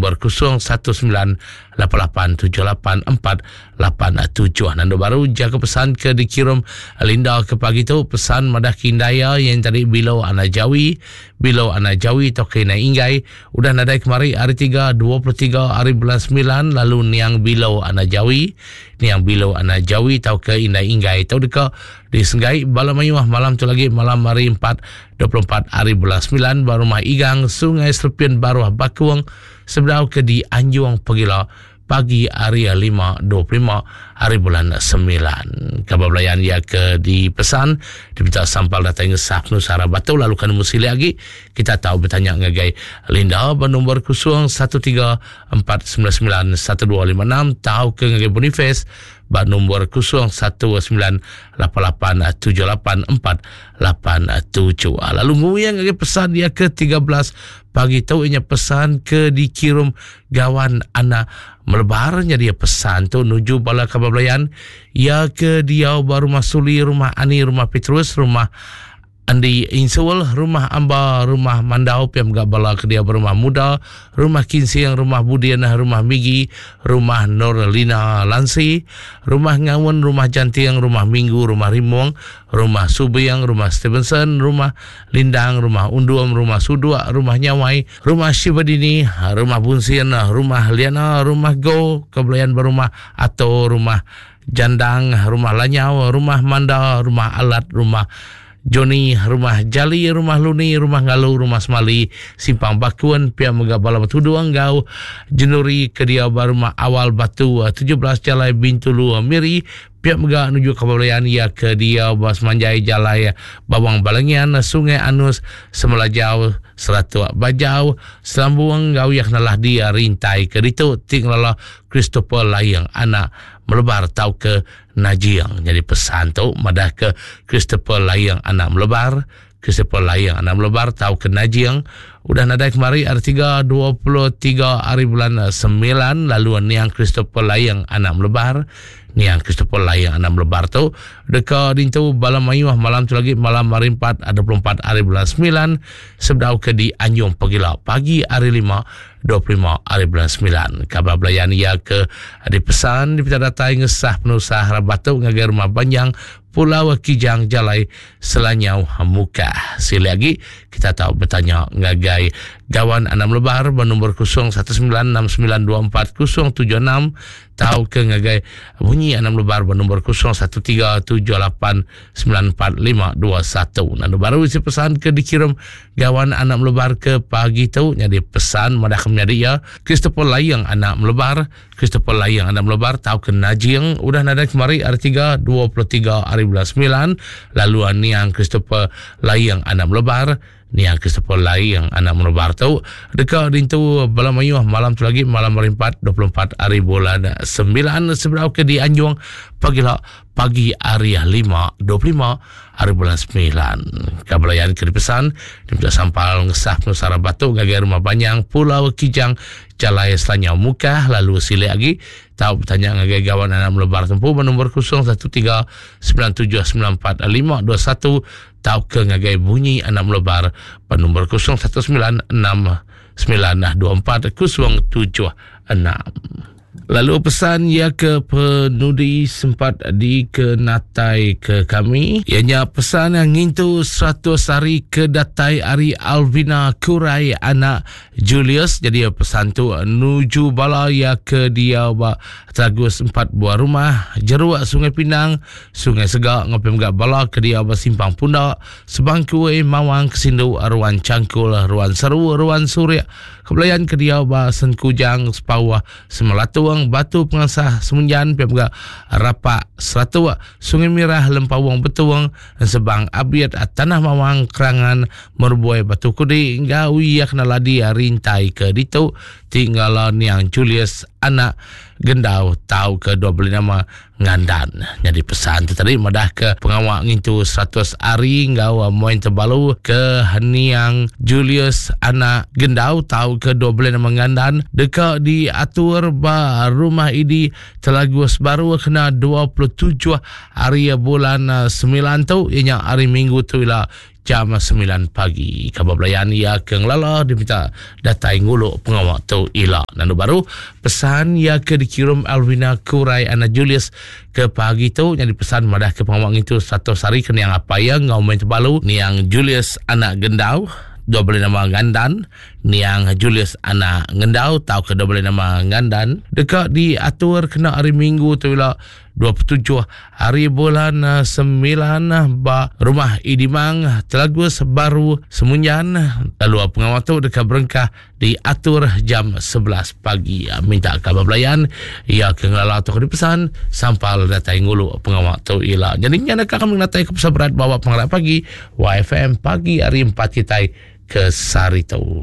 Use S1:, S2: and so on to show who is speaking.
S1: nombor 0198878487. Nandu baru jaku pesan ke dikirum Linda ke pagi tu pesan madah ke indai iya yang tadi Bilo anak Jawi, Bilo anak Jawi tauka indai Inggai udah nadai kemari hari 3 23 hari bulan 9 lalu niang Bilo anak Jawi, niang Bilo anak Jawi tauka indai Inggai tau deka disenggai bala mayuh malam tu lagi malam hari 4 24 hari bulan 9 ba rumah Igang Sungai Serpin Baruh Bakung sebedau ke dianjung pegila pagi hari 5.25 hari bulan 9. Kabar belayan ia ke dipesan diminta sampal datai ngesah penusah arah batu lalu kan nemu silik agi kita tahu bertanya ngagai Linda ba nombor 013 499 1256 tau ke ngagai Boniface ba nombor 019 88 78 4 87. Lalu nguyang ngagai pesan dia ke 13 pagi tu inya pesan ke dikirum gawan anak melebar nya dia pesan tu nuju bala kaban belayan ia ke diau ba rumah Suli, rumah Ani, rumah Petrus, rumah Andi Insul, Rumah Amba, Rumah Mandau, pia mega bala ke diau ba Rumah Muda, Rumah Kinsing, Rumah Budin, Rumah Migi, Rumah Norlina Lansi, Rumah Ngaun, Rumah Janting, Rumah Minggu, Rumah Rimong, Rumah Subing, Rumah Stevenson, Rumah Lindang, Rumah Undum, Rumah Suduk, Rumah Nyawai, Rumah Shivadini, Rumah Bunsin, Rumah Liana, Rumah Go, ke belayan ba Rumah Ato, Rumah Jandang, Rumah Lanyau, Rumah Manda, Rumah Alat, Rumah Johnny, Rumah Jali, Rumah Luni, Rumah Ngalu, Rumah Semali, Simpang Bakun, pia mega bala betudung enggau Jenuri ke diau ba Rumah Awal Batu 17 Jalai Bintulu Miri, pia mega nuju ke belayan iya ke diau ba semanjai Jalai Bawang Balengian, Sungai Anus, Semelajau, Seratuk Bajau, Selambung enggau iya ke nelah di Rintai ke ditu ti ngelala Christopher Layeng anak Melebar tauka Najing. Nyadi pesan tu madahka Christopher Layeng anak Melebar, Christopher Layeng anak Melebar tauka Najing udah nadai kemari hari 3 23 hari bulan 9 lalu niang Christopher Layeng anak Melebar niang Christopher Layeng anak Melebar tu deka dintu bala mayuh malam tu lagi malam hari 4 24 hari bulan 9 sebedau ke dianjung pegila pagi hari 5 25 ari bulan 9. Kabar belayan iya ke dipesan dipinta datai ngesah penusah rabat tu ngagai Rumah Banjang Pulau Kijang Jalai Selanyau Mukah. Silik agi kita tau betanya ngagai Gawan Anam Lebar ba nombor 0196924076 tauka ngagai Bunyi Anam Lebar ba nombor 0137894521. Lalu baru isi pesan ke dikirim Gawan anak melebar ke pagi tu nyadi pesan madah ke menyadi iya Christopher Layeng anak melebar Christopher Layeng anak melebar tauka Najing udah nadai kemari hari 3 23 hari bulan 9 lalu niang Christopher Layeng anak melebar niang Christopher Layeng anak melebar tu deka dintu bala mayuh malam tu lagi malam hari 4 24 hari bulan 9 sebedau ke dianjung pagila pagi hari 5.25 hari bulan 9. Kabelayan ke dipesan, diminta sampal ngesah penusara batu ngagai rumah Banyang, Pulau Kijang, Jalai Selanyau Mukah, lalu silik agi, tau betanya ngagai gawan anak melebar tempu ba nombor 0139794521 tauka ngagai bunyi anak melebar ba nombor 0196924076. Lalu pesan iya ke penudi sempat dikenatai ke kami iya nya pesan yang ngintu 100 hari ke datai ari Alvina Kurai anak Julius. Jadi pesan tu nuju bala iya ke diau ba Teragus 4 buah rumah, Jeruk Sungai Pinang, Sungai Sega enggau pia mega bala ke diau ba Simpang Punda, Sebangkui, Mawang, Kesindu, Ruan Changkul, Ruan Seru, Ruan Surik, Kebelayan ke diau ba Senkujang, Sepauh, Semelatung, Batu Pengasah, Semenjan, pia mega Rapak, Seratuk, Sungai Mirah, Lempawung Betung, Ensebang, Abit, Tanah Mawang, Kerangan, Merboi, Batu Kudi enggau iya kena ladi rintai ke ditu ti ngala niang Julius anak Gendau tauka dua beli nama Ngandan. Nyadi pesan tu tadi madah ke pengawa ngintu 100 hari enggau Moin Tebalu ke Niang Julius anak Gendau tauka dua beli nama Ngandan deka diatur ba Rumah Idi Telagus Baru kena 27 hari bulan 9 tu iya nya hari Minggu tu ila. jam 9 pagi. Kaban belayan iya ke ngelala diminta datai ngulu pengawa tu ila. Nandu baru pesan iya ke dikirum Alvina Kurai anak Julius ke pagi tu nyadi pesan madah ke pengawa ngintu 100 hari ke niang apai iya enggau main tebalu niang Julius anak Gendau dua beli nama Ngandan niang Julius anak Ngendau tauka dua beli nama Ngandan deka diatur kena hari Minggu tu ila 27 hari bulan 9 eh, ba Rumah Idimang Telagus Baru Semunjan lalu pengawa tu deka berengkah diatur jam 11 pagi. Eh, minta kaban belayan ia ke ngelala tu dipesan sampal datai ngulu pengawa tu ila. Jadi nya deka kami datai ke pesan berat bawa pengarap pagi YFM pagi hari 4 kitai ke sehari tu.